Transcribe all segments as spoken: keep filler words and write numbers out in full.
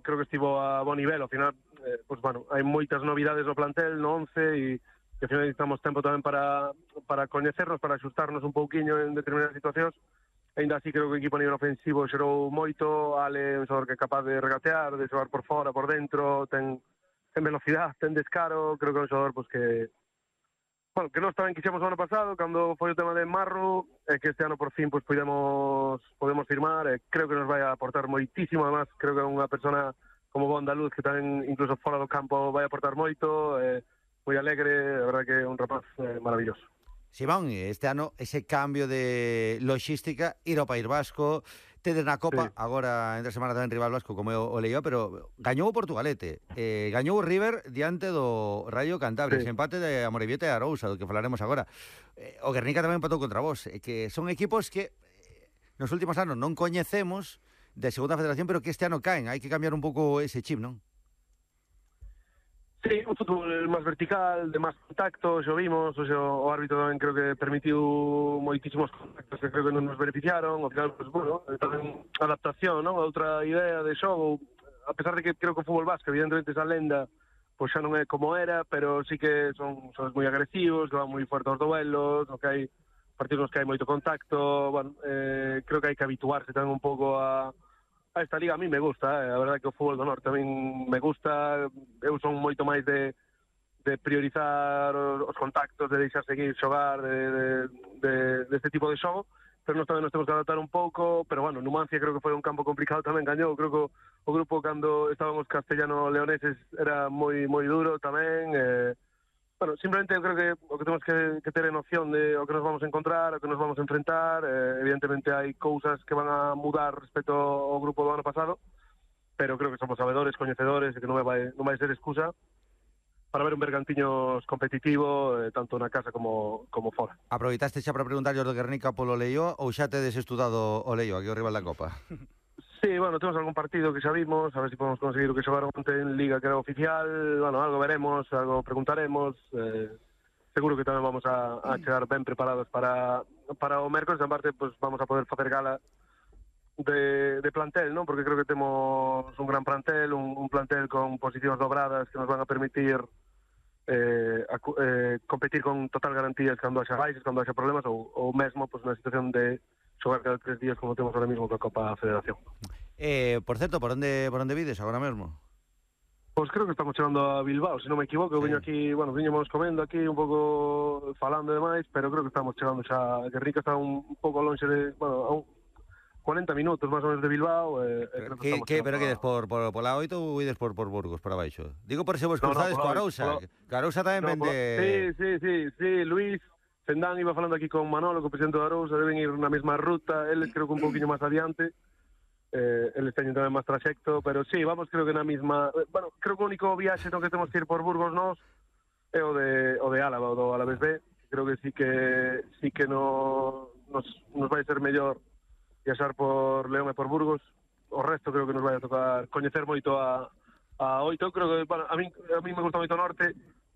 creo que estivo a bo nivel. Ao final, eh, pues, bueno, hai moitas novidades no plantel, no once, e que ao final necesitamos tempo tamén para, para coñecernos, para axustarnos un pouquiño en determinadas situacións. Ainda así creo que o equipo a nivel ofensivo xerou moito. Ale é un xogador que é capaz de regatear, de xogar por fora, por dentro, ten, ten velocidade, ten descaro. Creo que é un xogador pues, que bueno, que nós tamén quixemos o ano pasado, cando foi o tema de Marro, e que este ano por fin pues, podemos, podemos firmar, e creo que nos vai a aportar moitísimo. Además, creo que é unha persona como bo andaluz que tamén incluso fora do campo vai a aportar moito, eh, moi alegre, a verdade que é un rapaz eh, maravilloso. Simón, este ano ese cambio de logística, ir ao País Vasco, tedes na Copa, sí. Agora entre semana tamén rival vasco, como eu o leía, pero gañou o Portugalete, eh, gañou o River diante do Rayo Cantabria, sí. Ese empate de Amorebieta e Arousa, do que falaremos agora. Eh, o Guernica tamén empatou contra vos, eh, que son equipos que eh, nos últimos anos non coñecemos de segunda federación, pero que este ano caen, hai que cambiar un pouco ese chip, non? Sí, un fútbol máis vertical, de máis contactos, o vimos, o, sea, o árbitro tamén creo que permitiu moitísimos contactos que creo que non nos beneficiaron. Ao final, pues, bueno, tamén adaptación, non? A outra idea de xogo, a pesar de que creo que o fútbol vasco, evidentemente, esa lenda, pois pues xa non é como era, pero sí que son, son moi agresivos, que van moi fuertes aos duelos, no que hai partidos nos que hai moito contacto. Bueno, eh, creo que hai que habituarse tamén un pouco a a esta liga. A mí me gusta, eh. A verdade que o fútbol do norte tamén me gusta. Eu son moito máis de, de priorizar os contactos, de deixar seguir xogar, de, de, de, de este tipo de xogo, pero nós tamén nos temos que adaptar un pouco. Pero bueno, Numancia creo que foi un campo complicado tamén, gañou. Creo que o, o grupo cando estábamos castellano-leoneses era moi moi duro tamén. eh, Bueno, simplemente eu creo que o que temos que, que ter é noción de o que nos vamos a encontrar, o que nos vamos a enfrentar. Eh, evidentemente hai cousas que van a mudar respecto ao grupo do ano pasado, pero creo que somos sabedores, coñecedores, e que non vai, non vai ser excusa para ver un Bergantiños competitivo, eh, tanto na casa como, como fora. Aproveitaste xa para preguntar do Guernica polo Leio, ou xa tedes estudado o Leio, aquí o rival da Copa? Sí, bueno, temos algún partido que xa vimos, a ver se si podemos conseguir o que xogaron onte en Liga, que era oficial. Bueno, algo veremos, algo preguntaremos. Eh, seguro que tamén vamos a, a chegar ben preparados para, para o mércoles. En parte, pues, vamos a poder facer gala de, de plantel, non? Porque creo que temos un gran plantel, un, un plantel con posicións dobradas que nos van a permitir eh, a, eh, competir con total garantías cando haxa baixes, cando haxa problemas, ou, ou mesmo pues, na situación de xogar cada tres días como temos ahora mismo coa Copa Federación. Eh, por certo, por onde por onde vides agora mesmo? Pois pues creo que estamos chegando a Bilbao, se non me equivoco. Eu sí. Viño aquí, bueno, viñemos comendo aquí un pouco falando e demais, pero creo que estamos chegando xa. Guernica está un, un pouco longe de, bueno, a un cuarenta minutos máis ou menos de Bilbao. Eh, creo que, que, pero que ides por, por, por la oito ou ides por, por Burgos, por abaixo? Digo por se vos cruzades no, no, co Arousa. Co Arousa tamén no, vende... Sí, sí, sí, sí, Luis Fendán iba falando aquí con Manolo, co presidente do Arousa, deben ir na mesma ruta. Eles creo que un pouquinho máis adiante. Eh, eles teñen tamén máis traxecto, pero sí, vamos creo que na mesma... Bueno, creo que o único viaxe no que temos que ir por Burgos nós é o de, o de Álava, o do Alavés B. Creo que sí que sí que no, nos, nos vai ser mellor viaxar por León e por Burgos. O resto creo que nos vai a tocar coñecer moito a, a oito. Creo que, bueno, a mí, a mí me gusta moito o norte.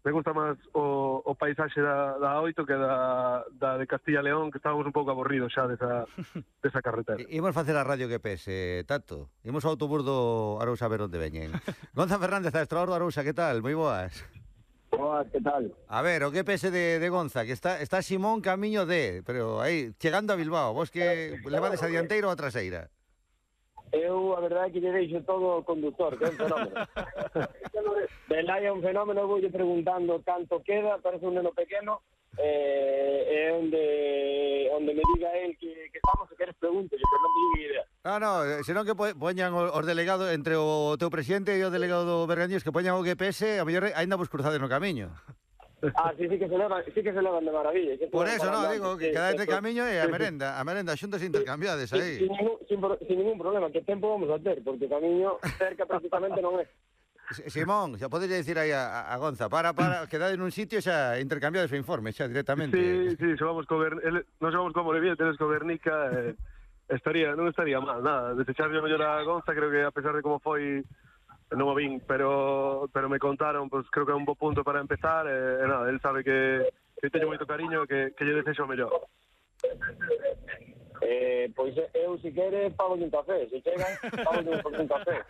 Me gusta máis o, o paisaxe da, da oito que da, da de Castilla e León, que estábamos un pouco aburridos xa desa, desa carretera. Imos facer a radio que pese, Tato. Imos ao autobús do Arousa a ver onde veñen. Gonza Fernández, adestrador do Arousa, que tal? Moi boas. Boas, que tal? A ver, o que pese de, de Gonza, que está está Simón camiño de, pero aí, chegando a Bilbao, vos que levades a dianteira ou a traseira? Eu, a verdade, que lle deixo todo o conductor, que é un fenómeno. Belai é un fenómeno, vou lle preguntando canto queda, parece un neno pequeno, eh, é onde onde me diga el que, que estamos, se queres pregunte, pero non me diga idea. Ah, no, senón que poñan os delegados, entre o teu presidente e o delegado do Bergantiños, que poñan o G P S, a mellor aínda vos cruzades no camiño. Ah, sí, sí que se levan, sí que se levan de maravilla. Por eso, no, digo, que quedades de camiño e a merenda, a merenda, xuntos intercambiades aí. Sin, sin, ningún, sin, sin ningún problema, que tempo vamos a ter, porque camiño cerca prácticamente non é. Simón, xa podes dicir aí a, a Gonza, para, para, quedade nun sitio xa intercambiades o informe, xa directamente. Sí, sí, xogamos co Guernica, non xogamos co Morevieta, tenes co Guernica, eh, estaría, non estaría mal, nada, desecharlle mellor a Gonza, creo que a pesar de como foi, non o vin, pero pero me contaron, pues creo que é un bo punto para empezar, e eh, nada, él sabe que, que teño moito cariño, que, que lle desexo o mellor. Eh, pois eu, se quere, pago un café. Se chegan, pago un café.